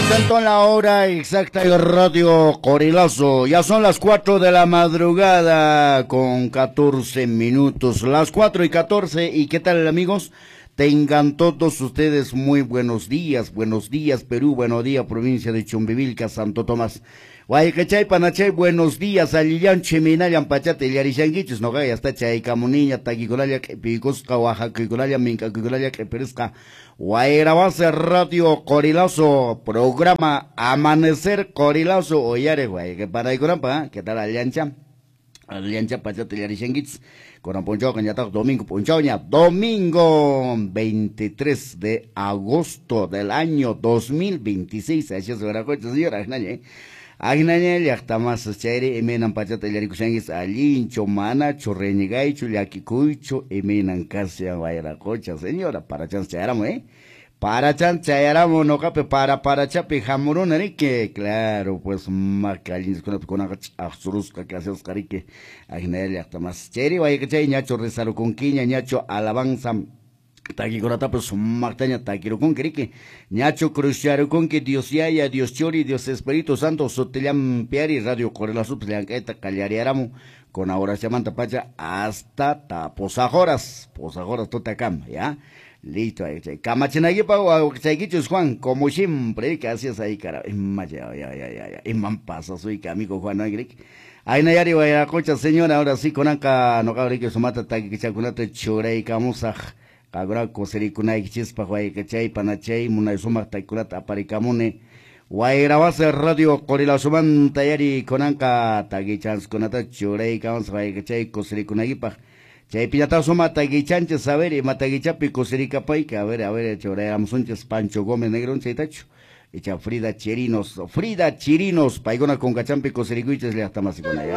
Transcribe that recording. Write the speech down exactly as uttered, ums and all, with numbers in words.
Presentó la hora exacta y Radio Qorilazo. Ya son las cuatro de la madrugada con catorce minutos. Las cuatro y catorce. ¿Y qué tal, amigos? Tengan todos ustedes muy buenos días. Buenos días, Perú. Buenos días, provincia de Chumbivilca, Santo Tomás. Wayqichay, panachay, buenos días. Allillanchu, imaynallan pachata illarishankichis. Noqa ya está chaykamuniña, takikunalla q'ipiykusqa, waqakuykunalla, mink'akuykunalla q'ipirisqa. Wayrawasi Radio Qorilazo, programa Amanecer Qorilazo, uyariq wayqi panaykunapaq, ¿qué tal allancha? Allancha pachata illarishankichis. Kunan p'unchawqa ñataq domingo p'unchawña, domingo veintitrés de agosto del año dos mil veintiséis. Así es, señora, ¿eh? Agnaña llaqtamasas chayri imaynan pachata illarikushankichis allinchu manachu reñigaychu llakikuychu imaynan kashan wayraqocha señora parachan chayaramu, eh parachan chayaramu noqapi para parachapi hamuruna riki claro pues maka allinchiskunapi kunaqa ch'aqsurusqa kasasqa riki agnaña llaqtamasas chayri wayqichay ñachu rezarukunkiña ñachu alabanza takikunatapas sumaqtaña takirukunki riki ñachu cruzcharukunki Dios Yaya, Dios Churi, Dios Espíritu Santo sutillampiari Radio Qorilazopas llank'ayta qallariyaramu con oraciamanta pacha hasta ta posajoras posajoras tutakama ya listo ahí kamachinaykipaq wawqichaykichus Juan como siempre que así es ahí cara ima ya ya ya ya iman pasasuyki amigo Juan riki aynayari wayraqocha señora ahora sí kunanqa noqa riki sumata takichakunata churaykamusaq Qakuna kusirikunaykichispaq wayqichay panachay munay sumaq takikunata aparikamuni Wayrawasi Radio Qorilazomanta yari kunanqa takichanskunata churaykamusaq wayqichay kusirikunaykipaq chaypiñataq sumaq takichanchis a ver ima takichapi kusirikapayki a ver a ver churayramusunchis Pancho Gómez Negrón chaytachu icha Frida Chirinos Frida Chirinos paykuna kunkachampi kusirikuychis llaqtamasikuna ya.